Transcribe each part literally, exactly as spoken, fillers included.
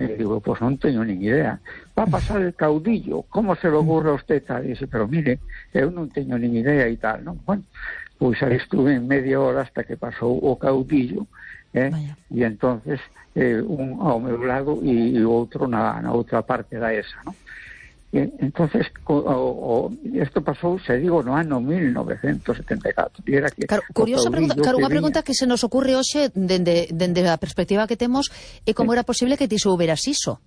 E digo, pois non teño nin idea. Va a pasar el caudillo, como se lo ocurre a usted tal? E dice, pero mire, eu non teño nin idea e tal, non? Bueno, pois aí estuve en media hora hasta que pasou o caudillo, eh? E entonces eh, un ao meu lado e, e outro na, na outra parte da esa, non? E, entonces, o, o, isto pasou, se digo, no ano mil novecentos setenta e catro. E era que claro, curiosa pregunta, claro, unha pregunta que se nos ocurre hoxe dende, dende a perspectiva que temos é como sí. Era posible que ti souberas iso.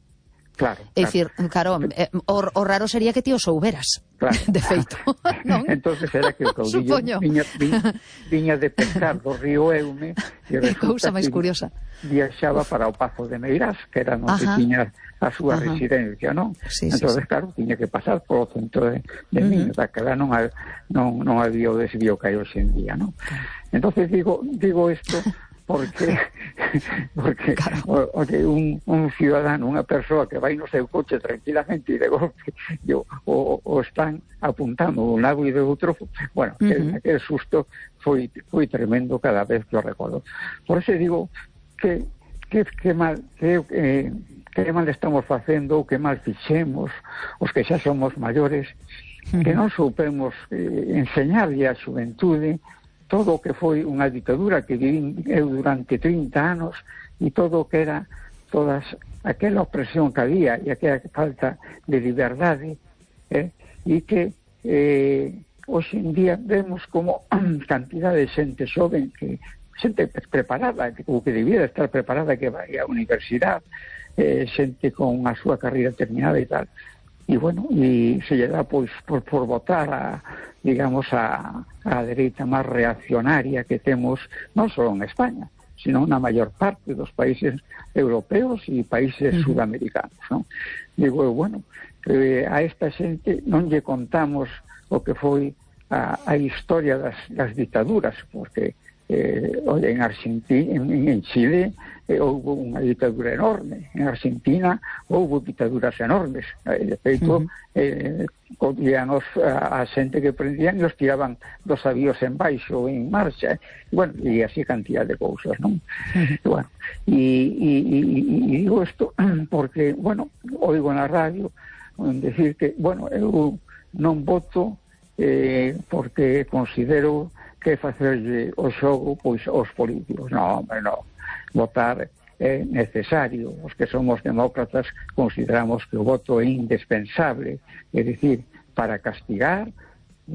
Claro, é dicir, claro, eh, o, o raro sería que ti o souberas, claro, de feito, non? Entonces era que o caudillo viña, viña, viña de pescar do río Eume e cousa máis curiosa. Viaxaba para o Pazo de Meirás, que era onde tiña a súa Ajá. residencia, non? Sí, entonces, sí, sí. claro, tiña que pasar polo centro de, de uh -huh. Miño, daquela non, non, non había o desvío que hai hoxe en día, non? Entonces digo, digo isto porque porque claro. o, o que un, un ciudadano, unha persoa que vai no seu coche tranquilamente e de golpe yo, o, o están apuntando de un lado e de outro, bueno, uh -huh. aquel susto foi, foi tremendo cada vez que o recordo. Por eso digo que que, que mal que, eh, que mal estamos facendo ou que mal fixemos os que xa somos maiores, uh -huh. que non soupemos eh, enseñarlle a xuventude todo o que foi unha ditadura que viví eu durante trinta anos e todo o que era todas aquela opresión que había e aquela falta de liberdade, eh, e que eh, hoxe en día vemos como cantidad de xente xoven que xente preparada, ou que debiera estar preparada, que vai á universidade, eh, xente con a súa carreira terminada e tal, e bueno, e se lle dá pois por, por votar a, digamos, a, a dereita máis reaccionaria que temos non só en España, sino na maior parte dos países europeos e países uh-huh. sudamericanos, non? Digo, bueno, eh, a esta xente non lle contamos o que foi a, a historia das, das dictaduras, porque eh, oye, en Argentina, en, en Chile eh, houve unha ditadura enorme, en Argentina houve dictaduras enormes, eh, de feito uh -huh. eh, cogían os, a, a xente que prendían e os tiraban dos avións en baixo en marcha, eh. bueno, e así cantidad de cousas, non? Uh -huh. Bueno, e, e, e, e digo isto porque, bueno, oigo na radio decir que, bueno, eu non voto eh, porque considero que facerlle o xogo pois aos políticos. Non, hombre, non. Votar é necesario. Os que somos demócratas consideramos que o voto é indispensable, é dicir, para castigar,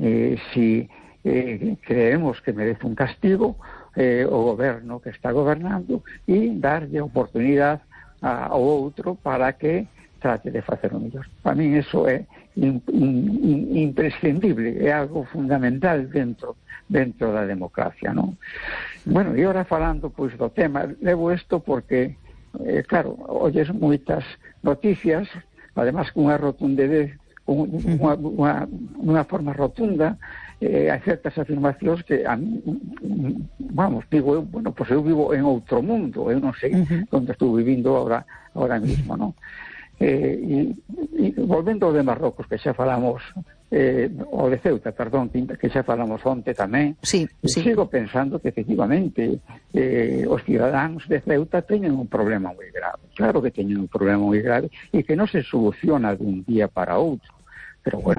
eh, si eh, creemos que merece un castigo eh, o goberno que está gobernando e darlle oportunidade ao outro para que trate de facer o mellor. Para mí eso é in, in, in, imprescindible, é algo fundamental dentro dentro da democracia, non? Bueno, e ora falando pois do tema, levo isto porque eh, claro, olles moitas noticias, además con unha rotundidez, con unha, unha, unha forma rotunda, eh, hai certas afirmacións que a mí, vamos, digo eu, bueno, pois eu vivo en outro mundo, eu non sei uh-huh. onde estou vivindo ahora, ahora mismo, non? Eh, e, e volvendo ao de Marrocos, que xa falamos, eh, o de Ceuta, perdón, que xa falamos onte tamén, sí, sí. sigo pensando que efectivamente eh, os cidadáns de Ceuta teñen un problema moi grave, claro que teñen un problema moi grave e que non se soluciona dun día para outro, pero bueno,